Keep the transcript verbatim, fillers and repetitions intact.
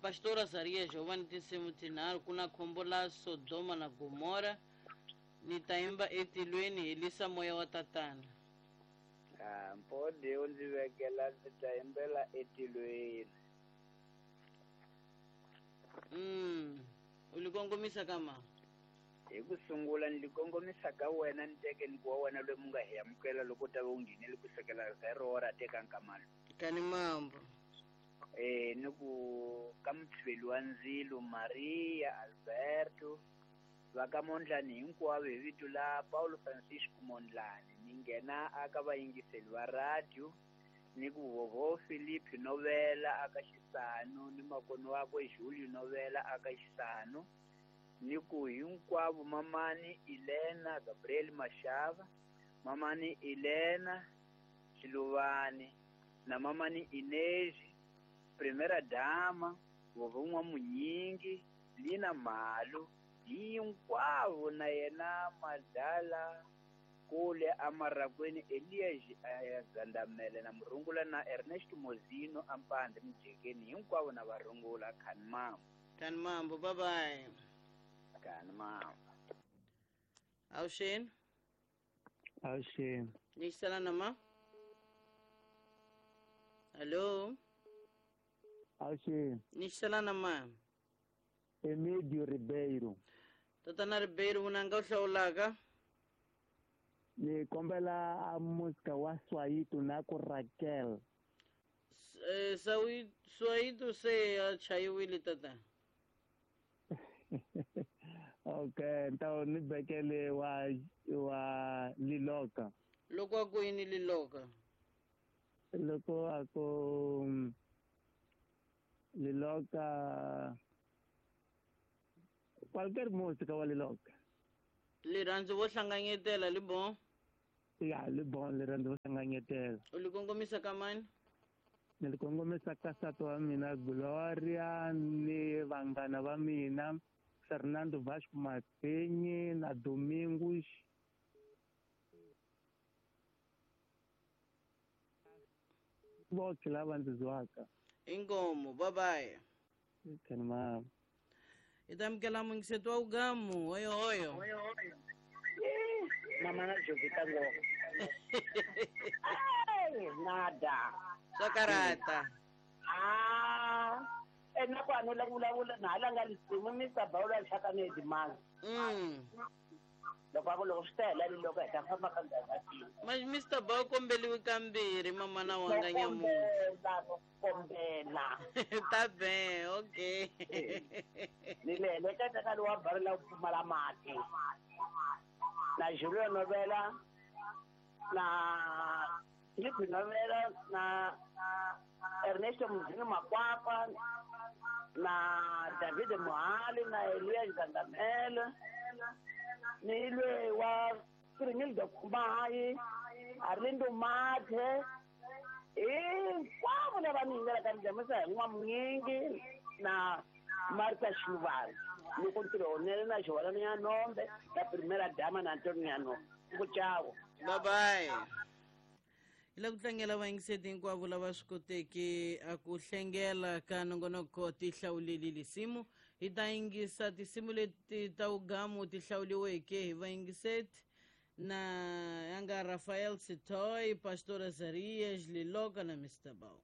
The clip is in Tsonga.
Pastor Azarias Giovanni tinsimu tinharhu ku na khombo la Sodoma na Gomora ni ta yimba etilweni helisa moya wa tatana. Ah, mpode u ndzi vekela ndzi ta yimbela etilweni. Mm. U li kongomisa ka ma? Hi ku sungula ni li kongomisa ka wena ni teke ni ku wa wena loyi mu nga hi amukela loko u ta va u nghenele ku sukela zero ra teka nkamalo. Kani mambo. Eh ni ku ka mutshiveli wa ndzilo Maria Alberto va ka Mondlani hinkwavo hi vito la Paulo Francisco Mondlani ni nghena aka vayingiseli va radio ni ku vovo Philip Novela aka Xisano ni makono wakwe Julio Novela aka Xisano ni ku hinkwavo mamani Elena Gabriel Mashava mamani Elena Xiluvani na mamani Inez Primera Dama vovo N'wamunyingi Lina Malu hinkwavo na yena Madala kule amarakweni Elias Gandamele na Murungula na Ernest Mozino ampande mujekeni hinkwavo na varungula khani mambo. Khani mambo, bye bye. Khani mambo. Awuxeni. Awuxeni. Ni xisana na ma? Hello. Awuxeni. Ni xisana na ma? Emídio Ribeiro. Tatana Ribeiro vunanga u hlawulaka? Ni kombela a música wa Swayito na ku Raquel. Eh Swayito se a chayiwile tata. Okay, então ni bekele wa wa Liloka. Loko a ku yini Liloka? Loko a ku Liloka qualquer música wa Liloka. Rirhandzu vo hlanganyetela li bon? Ya, li bon rirhandzu vo hlanganyetela. U li kongomisa ka mani? Ni li kongomisa ka nsati wa mina Gloria ni vanghana va mina Fernando Vasco Matenyi na Domingos voxe lava ndzi zwaka. Inkomo, bye bye. Khani mama. Hi ta amukela muyingiseti wa Ugamu. Oyo oyo. Mama na Jovita ngopfu. Ai, nada. Swa karata. Ah, ena ku a no la ku vulavula na hala nga lisimu Mister Bawula xaka ni Edimanga. Mm. Loko a ku loko swi ta hela ni loko hi ta famba ka ndhawu ya tini. Ma Mister Bawu kombeliwe kambirhi mama na wanga nyamuntlha. Kombela. Ta be, okay. Ni le heleketa ka lowa bari la ku pfumala mati. Na Julio Novela na Filipe Novela na Ernesto Mzini Makwapa na David Mohali na Elias Gandamele ni lwe wa Kirimildo Kumayi Arlindo Mathe hinkwavo lava ni yingelaka ni dlamisa hi N'wamunyingi na Martha Xiluvani loko ntirho wunene na Xiholani ya Nombe na Primera Dama na Antonio ya Nombe ku chavo. Bye bye. Hi la ku tlangela vayingiseti hinkwavo lava swi koteke a ku hlengela ka nongonoko ti hlawuleli lisimu. Hi ta yingisa tinsimu leti ta Ugamu ti hlawuliweke hi vayingiseti na ya nga Rafael Sitoy, Pastor Azarias, Liloka na Mister Bao.